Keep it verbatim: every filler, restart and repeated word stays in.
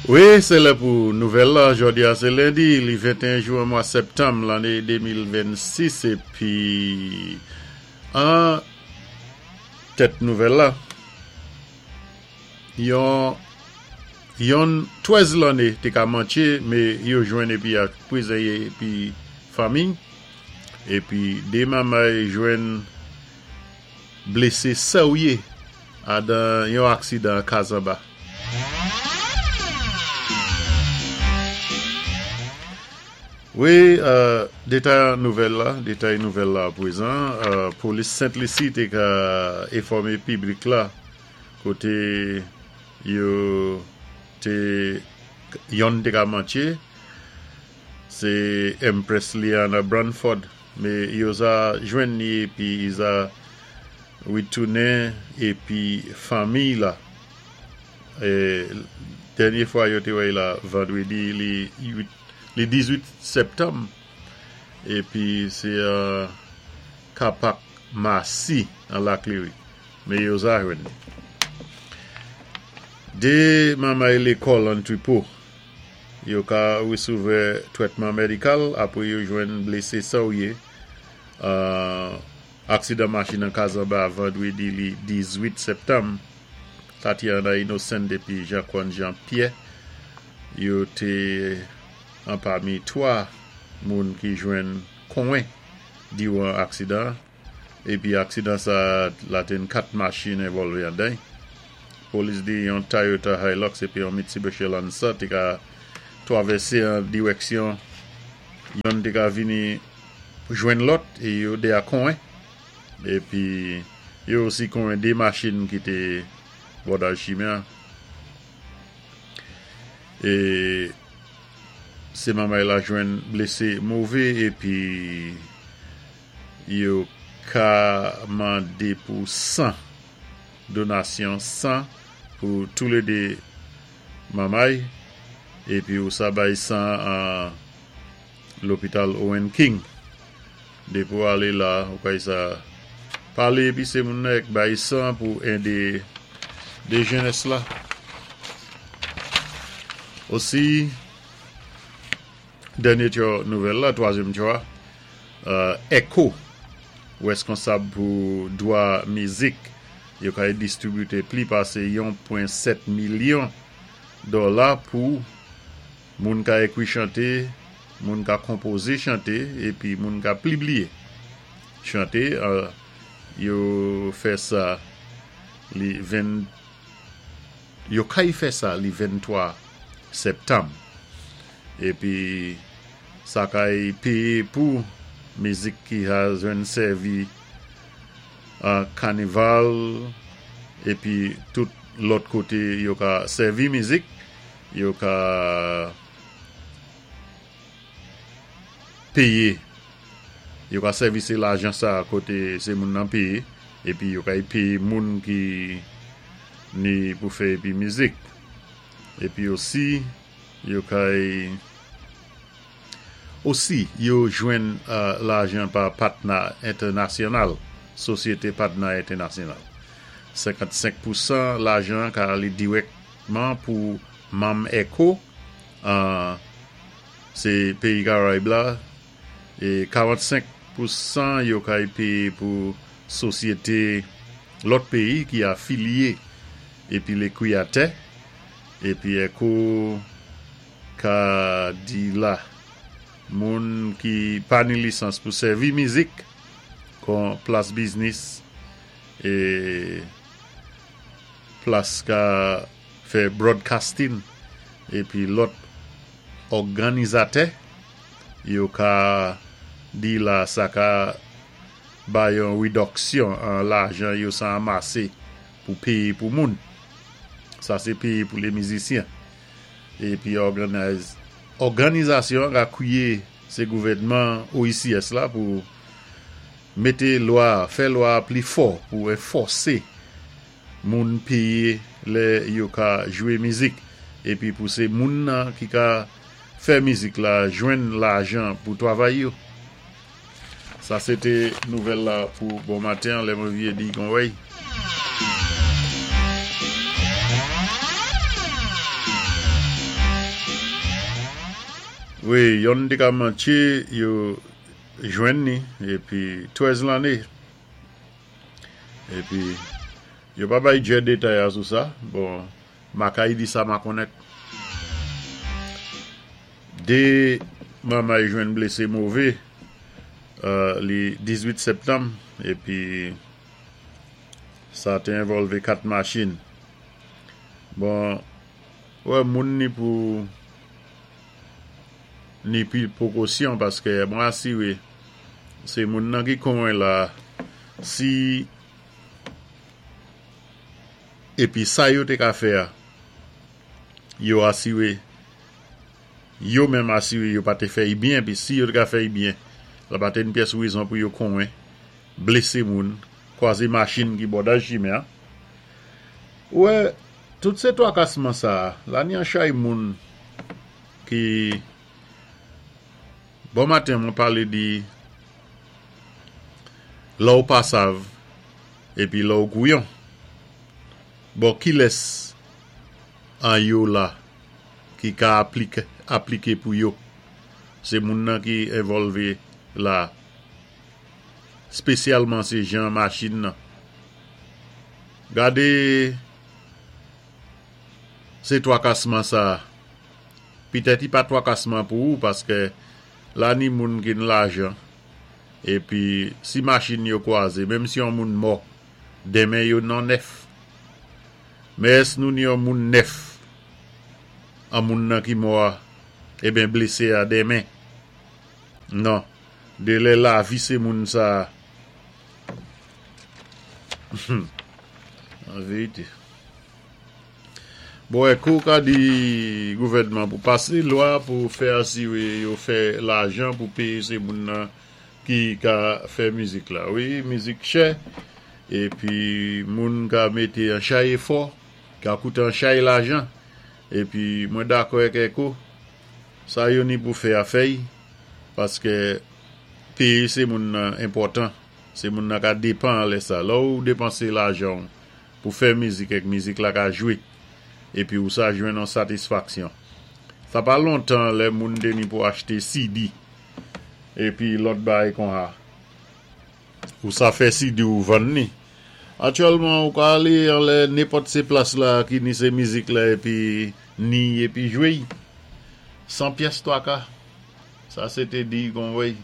Wi, sé lè pou nouvèl la. Jòdi-a sé lendi, li venteyen jou an mwa septanm lanné de mil vennsis, épi an tèt nouvèl la. Yon yon trèz lanné té ka mantché, mé yo jwenn épi ak pwizonyé épi fanmi. Épi dé manmay jwenn blésé sèwyé adan yon aksidan Kazanba. Wi, euh, détay nouvèl la, détay nouvèl la pwézan, euh, polis Sent Lisi té ka enfòmé piblik la koté yo té yonn té ka mantché, sé Empress Liana Branford, mé yo za jwenn ni épi i za witounen épi fanmiy la. É dènyé fwa yo té wè la vandwédi li uit, li dizuit septanm épi sé euh, Kapak Masi an Lac Leary. Mé yo za jwenn ni. Dé manmay lékòl an Tripo, yo ka wésévwè twètman médikal apwé yo jwenn blésé sèwyé euh, aksidan machin an Kazanba vandwédi li dizuit septanm. Tatiana Innocent épi Jean-Quan Jean-Pierre yo té an pami twa moun ki jwenn konwen diwan aksidan, épi aksidan sa la té kat machin envòlvé andan. Polis di yon Toyota Hilux épi yon Mitsubishi Lancer té ka twavèsé an diwèksyon, yonn té ka vini jwenn lòt é yo dé a konwen, épi yo osi konwen dé machin ki té bòdaj chimen. É sé manmay la jwenn blésé mové épi yo ka mandé pou san, donasyon san pou toulédé manmay, épi ou sa bay san an lopital Owen King. Dépi ou alé la, ou kay sa palé épi sé moun nèk bay san pou édé dé jènès la. Osi, dènyé tyo nouvèl la, twazyèm tyo a, euh, ECHO, wèskonsab pou dwa mizik, yo kay distribité pli pasé yon pwen sèt milyon dola pou moun ka ékwi chanté, moun ka konpozé chanté, épi moun ka pibliyé chanté. euh, yo fè sa li ven, yo kay fè sa li venntwa septanm. Épi sa kay péyé pou mizik ki a jwenn sèvi an kanival épi tout lòt koté yo ka sèvi mizik, yo ka péyé, yo ka sèvi sé lajan sa koté sé moun nan péyé, épi yo kay péyé moun ki ni pou fè épi mizik. Épi osi yo kay osi yo jwenn euh, lajan pa patnè entènasyonal, sosyété patnè entènasyonal. senkannsenk pou san lajan ka alé dirèkman pou manm ECHO, euh, sé péyi Karayib la, é karannsenk pou san yo kay péyé pou sosyété lòt péyi ki afilyé épi lé kwiyatè, épi ECHO ka di la moun ki pa ni lisans pou sèvi mizik kon plas biznis é plas ka fè broadcasting épi lòt òganizatè, yo ka di la sa ka bay yon widoksyon an lajan yo sa amasé pou péyé pou moun. Sa sé péyé pou lé mizisyen. Épi òganiz, òganizasyon ka kwiyé sé gouvèdman O E C S la pou mété lwa, fè lwa pli fò pou anfòsé moun péyé lè yo ka jwé mizik épi pou sé moun nan ki ka fè mizik la jwenn lajan pou twavay yo. Sa sé té nouvèl la pou bon maten, lè mwen vyé di kon wèy. Wi, yonn té ka mantjé, yo jwenn ni, épi twèz lanné. Épi, yo pa bay djè détay sou sa. Bon, ma kay di sa ma konnèt. Dé manmay jwenn blésé mové, euh, li dizuit septanm, épi sa té envòlvé kat machin. Bon, wè, moun ni pou ni pi pwékosyon paské mwen asiwé sé moun nan ki konwen la si épi sa yo té ka fè a yo asiwé yo menm asiwé yo pa té fè'y byen pi si yo té ka fè'y byen la pa té ni pyès wézon pou yo konwen blésé moun kwazé machin ki bò dan chimen. Wè, tout sé twakasman sa la ni an chay moun ki bon maten mwen palé di lè ou pa sav épi lè ou kouyon. Bon, kilès an yo la ki ka apliké, apliké pou yo? Sé moun nan ki envòlvé la. Spésyalman sé jan machin nan. Gadé sé twakasman sa. Pitèt i pa twakasman pou ou paské la ni moun ki ni lajan. Épi si machin yo kwazé, menm si yon moun mò, denmen yo nan nèf. Men ès nou ni yon moun nèf an moun nan ki mò a, eben blésé a denmen? Non. Dé lè lavi sé moun sa. An vérité. Bon, kou ka di gouvèdman pou pasé lwa pou fè asiwé yo fè lajan pou péyé sé moun nan ki ka fè mizik la. Wi, mizik chè, épi moun ka mété an chay éfò, ka kouté an chay lajan, épi mwen dakò èk Eko, sa yo ni pou fè a fè'y, paské péyé sé moun nan enpòtan, sé moun nan ka dépan lè sa. Lè ou dépansé lajan pou fè mizik èk mizik la ka jwé, épi ou sa jwenn an satisfaksyon. Sa pa lontan lè moun té ni pou achté C D, épi lòt bagay kon-sa. Ou sa fè C D ou vann ni. Aktyèlman ou ka alé anlè nenpòt sé plas la ki ni sé mizik la épi ni épi jwé. San pyès twaka. Sa sé té di kon wèy.